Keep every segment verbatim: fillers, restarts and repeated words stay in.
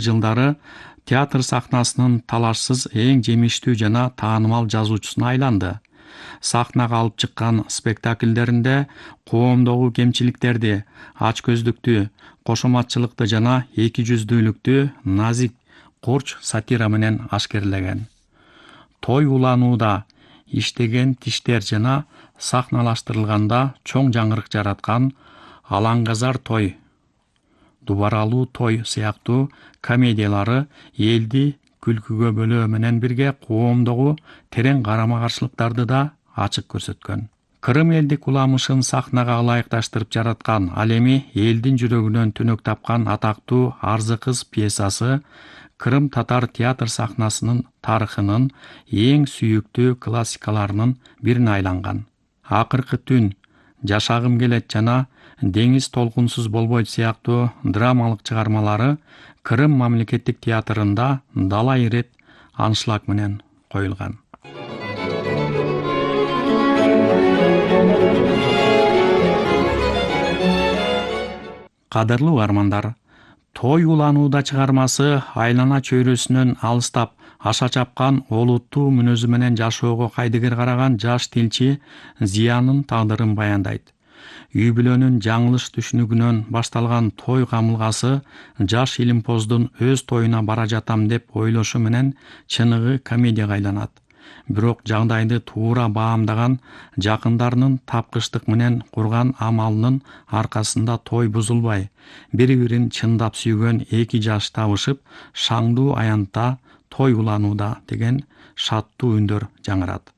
жылдары театр сахнасынын талашсыз эң жемиштүү жана таанымал жазуучусуна айланды. Сахнага алып чыккан спектакльдеринде коомдогу кемчиликтерди, ачкөздүктү, кошоматчылыкты жана эки жүздүүлүктү назик курч сатира менен ашкерлеген. Той уланууда иштеген тиштер жана сахналаштырылганда чоң жаңырык жараткан Алаңгазар той, Дубаралуу той сыяктуу комедиялары элди күлкүгө бөлөө менен бирге коомдогу терең карама-каршылыктарды да ачык көрсөткөн. Кырым элдик уламышын сахнага ылайыкташтырып жараткан, ал эми элдин жүрөгүнөн түнөк тапкан атактуу Арзы кыз пьесасы Кырым татар театр сахнасынын тарыхынын эң сүйүктүү классикаларынын бирине айланган. Акыркы түн, Жашагым келет жана Деңиз толкунсуз болбойт сыяктуу драмалык чыгармалары Кырым мамлекеттик театрында далай ирет аншлаг менен коюлган. Кадырлуу армандар, Той уланууда чыгармасы айлана чөйрөсүнөн алыстап аша чапкан олуттуу мүнөзү менен жашоого кайдыгер караган жаш тилчи Зиянын тагдырын баяндайт. Үй бүлөнүн жаңылыш түшүнүгүнөн башталган той камылгасы жаш илимпоздун өз тоюна бара жатам деп ойлошу менен чыныгы комедияга айланат. Бирок жагдайды туура баамдаган жакындарынын тапкычтык менен курган амалынын аркасында той бузулбай, бири-бирин чындап сүйгөн эки жаш табышып, шаңдуу аянтта той уланууда деген шаттуу үндөр жаңырат.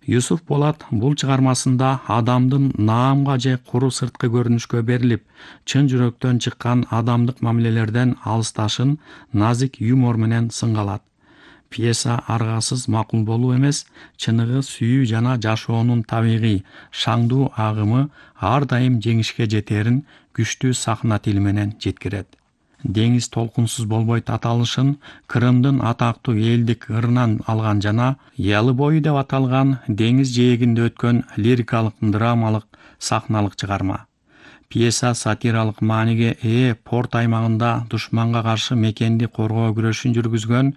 Юсуф Болат бул чыгармасында адамдын наамга же куру сырткы көрүнүшкө берилип, чын жүрөктөн чыккан адамдык мамилелерден алысташын назик юмор менен сынгалат. Пьеса аргасыз макул болуу эмес, чыныгы сүйүү жана жашоонун табигый, шаңдуу агымы ар дайым жеңишке жетерин күчтүү сахна тили менен жеткирет. Деңиз толкунсуз болбойт аталышын Кырымдын атактуу элдик ырынан алган жана Ялы бою деп аталган деңиз жээгинде өткөн лирикалык драмалык сахналык чыгарма. Пьеса сатиралык мааниге ээ порт аймагында душманга каршы мекенди коргоо күрөшүн жүргүзгөн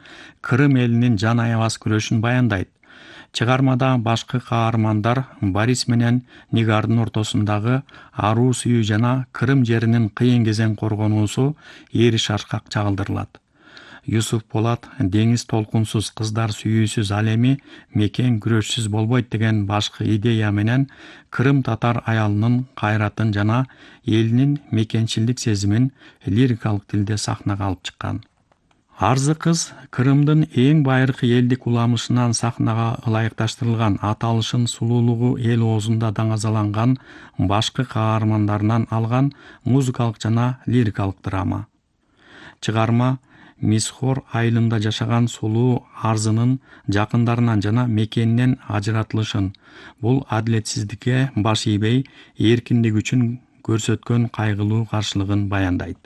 Кырым элинин жан аябас күрөшүн баяндайт. Чыгармада башкы каармандар Борис менен Нигардын ортосундагы аруу сүйүү жана Кырым жеринин кыйын кезең коргонуусу эри шашкак чагылдырылат. Юсуф Болат деңиз толкунсуз, кыздар сүйүүсүз, ал эми мекен күрөшсүз болбойт деген башкы идея менен Кырым татар аялынын кайратын жана элинин мекенчилдик сезимин лирикалык тилде сахнага алып чыккан. Арзы кыз Кырымдын эң байыркы элдик уламышынан сахнага ылайыкташтырылган, аталышын сулуулугу эл оозунда даңазаланган башкы каармандарынан алган музыкалык жана лирикалык драма. Чыгарма Мисхор айылында жашаган сулуу Арзынын жакындарынан жана мекенинен ажыратылышын, бул адилетсиздикке баш ийбей, эркиндик үчүн көрсөткөн кайгылуу каршылыгын баяндайт.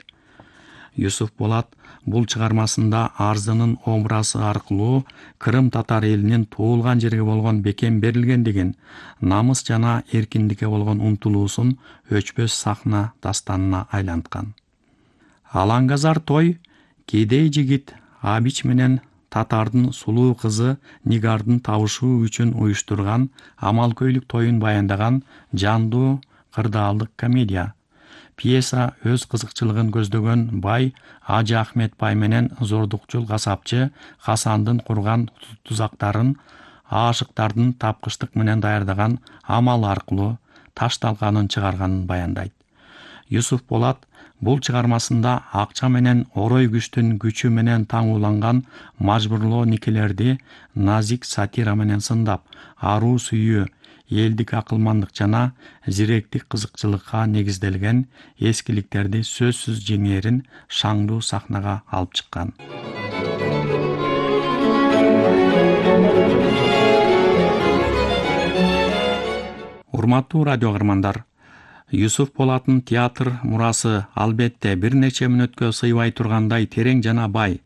Юсуф Болат бул чыгармасында Арзынын образы аркылуу Кырым татар элинин туулган жерге болгон бекем берилгендигин, намыс жана эркиндикке болгон умтулуусун өчпөс сахна дастанына айланткан. Алаңгазар той кедей жигит Абич менен татардын сулуу кызы Нигардын табышуу үчүн уюштурган амалкөйлүк тоюн баяндаган жандуу кырдаалдык комедия. Пьеса өз кызыкчылыгын көздөгөн бай Ажы Ахмет бай менен зордукчул касапчы Хасандын курган тузактарын аашыктардын тапкычтык менен даярдаган амал аркылуу ташталганын чыгарганын баяндайт. Юсуф Болат бул чыгармасында акча менен орой күчтүн күчү менен таңууланган мажбурлоо никелерди назик сатира менен сындап, аруу сүйүү, элдик акылмандык жана зиректик кызыкчылыкка негизделген эскиликтерди сөзсүз жеңээрин шаңдуу сахнага алып чыккан. Урматтуу радио каармандар, Юсуф Болаттын театр мурасы албетте бир нече мүнөткө сыйбай тургандай терең жана бай.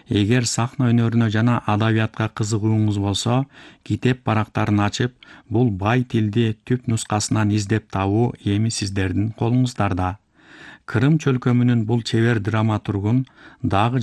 Эгер сахна өнөрүнө жана адабиятка кызыгууңуз болсо, китеп барактарын ачып, бул бай тилди түп нускасынан издеп табуу эми сиздердин колуңуздарда. Кырым чөлкөмүнүн бул чебер драматургун дагы